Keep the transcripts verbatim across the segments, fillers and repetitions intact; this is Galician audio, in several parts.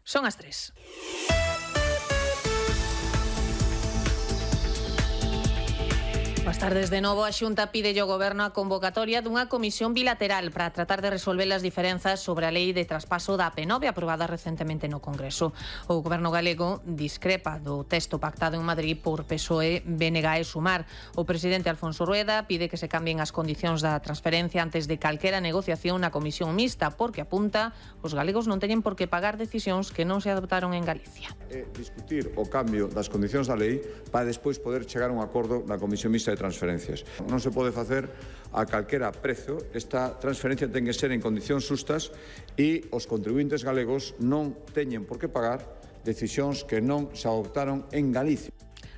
Son as tres. Boas tardes de novo. A Xunta pide ao Goberno a convocatoria dunha comisión bilateral para tratar de resolver as diferenzas sobre a lei de traspaso da P nove aprobada recentemente no Congreso. O Goberno galego discrepa do texto pactado en Madrid por P S O E, B N G e Sumar. O presidente Alfonso Rueda pide que se cambien as condicións da transferencia antes de calquera negociación na comisión mixta, porque apunta os galegos non teñen por que pagar decisións que non se adoptaron en Galicia. É discutir o cambio das condicións da lei para despois poder chegar a un acordo na comisión mixta de transferencias. Non se pode facer a calquera prezo. Esta transferencia ten que ser en condicións xustas e os contribuintes galegos non teñen por que pagar decisións que non se adoptaron en Galicia.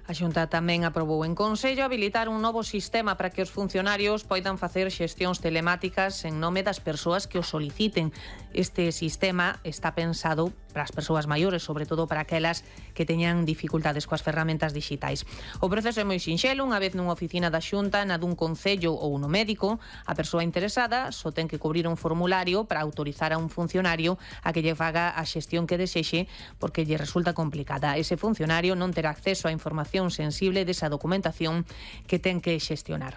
A Xunta tamén aprobou en Consello habilitar un novo sistema para que os funcionarios poidan facer xestións telemáticas en nome das persoas que o soliciten. Este sistema está pensado para as persoas maiores, sobre todo para aquelas que teñan dificultades coas ferramentas digitais. O proceso é moi sinxelo. Unha vez nunha oficina da Xunta, na dun concello ou no médico, a persoa interesada só ten que cubrir un formulario para autorizar a un funcionario a que lle faga a xestión que desexe, porque lle resulta complicada. Ese funcionario non terá acceso á información sensible desa documentación que ten que xestionar.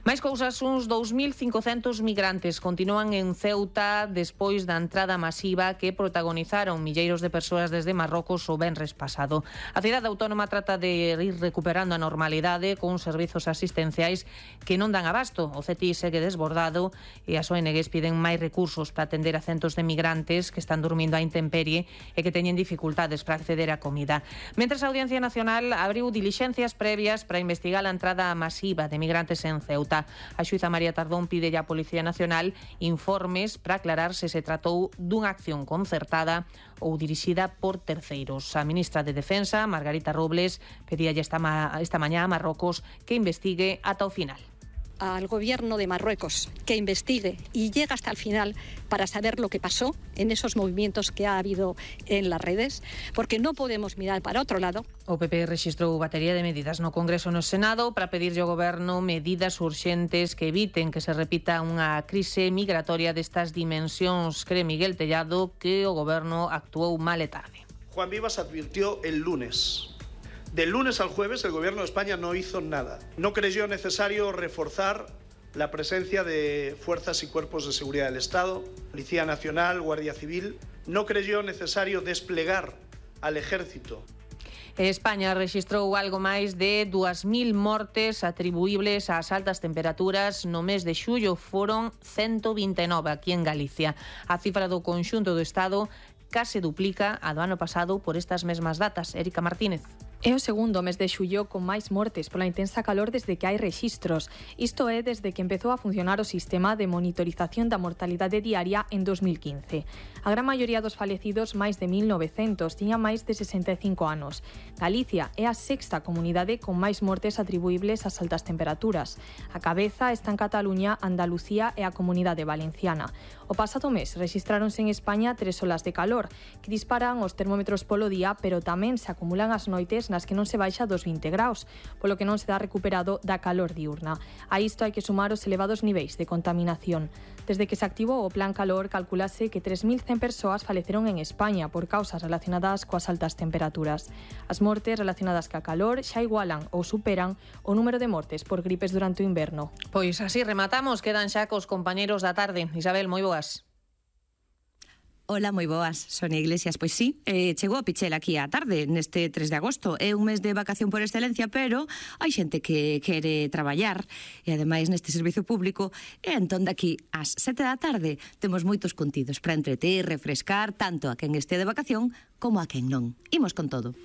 Mais cousas, uns dous mil cincocentos migrantes continúan en Ceuta despois da entrada masiva que protagonizaron milleiros de persoas desde Marrocos o venres pasado. A cidade autónoma trata de ir recuperando a normalidade con servizos asistenciais que non dan abasto. O C E T I segue desbordado e as O N Gs piden máis recursos para atender a centos de migrantes que están dormindo á intemperie e que teñen dificultades para acceder á comida. Mentres a Audiencia Nacional abriu dilixencias previas para investigar a entrada masiva de migrantes en Ceuta. A xuíza María Tardón pide á Policía Nacional informes para aclarar se se tratou dunha acción concertada ou dirixida por terceiros. A ministra de Defensa, Margarita Robles, pedíalle esta, ma esta mañá a Marrocos que investigue ata o final. Al gobierno de Marruecos que investigue y llegue hasta el final para saber lo que pasó en esos movimientos que ha habido en las redes, porque no podemos mirar para otro lado. O P P rexistrou batería de medidas no Congreso e no Senado para pedirlle ao Goberno medidas urxentes que eviten que se repita unha crise migratoria destas dimensións. Cree Miguel Tellado que o Goberno actuou mal e tarde. Juan Vivas advirtió el lunes. Del lunes al jueves el Gobierno de España no hizo nada. No creyó necesario reforzar la presencia de fuerzas y cuerpos de seguridad del Estado, Policía Nacional, Guardia Civil. No creyó necesario desplegar al Ejército. España rexistrou algo máis de dúas mil mortes atribuíbles ás altas temperaturas no mes de xullo. Foron ciento vinte e nove aquí en Galicia. A cifra do conxunto do Estado case duplica a do ano pasado por estas mesmas datas. Erika Martínez. É o segundo mes de xullo con máis mortes pola intensa calor desde que hai rexistros. Isto é desde que empezou a funcionar o sistema de monitorización da mortalidade diaria en dos mil quince. A gran maioría dos falecidos, máis de mil novecentos, tiña máis de sesenta e cinco anos. Galicia é a sexta comunidade con máis mortes atribuíbles ás altas temperaturas. A cabeza está en Cataluña, Andalucía e a Comunidade Valenciana. O pasado mes rexistráronse en España tres olas de calor que disparan os termómetros polo día, pero tamén se acumulan as noites nas que non se baixa dos vinte graus, polo que non se dá recuperado da calor diurna. A isto hai que sumar os elevados niveis de contaminación. Desde que se activou o Plan Calor, calculase que tres mil cen persoas faleceron en España por causas relacionadas coas altas temperaturas. As mortes relacionadas ca calor xa igualan ou superan o número de mortes por gripes durante o inverno. Pois así rematamos, quedan xa cos compañeros da tarde. Isabel, moi boas. Hola, moi boas, Sonia Iglesias. Pois sí, eh, chegou a Pichel aquí á tarde, neste tres de agosto. É un mes de vacación por excelencia, pero hai xente que quere traballar e ademais neste servizo público. E entón daqui ás sete da tarde temos moitos contidos para entreter, refrescar tanto a quen este de vacación como a quen non. Imos con todo.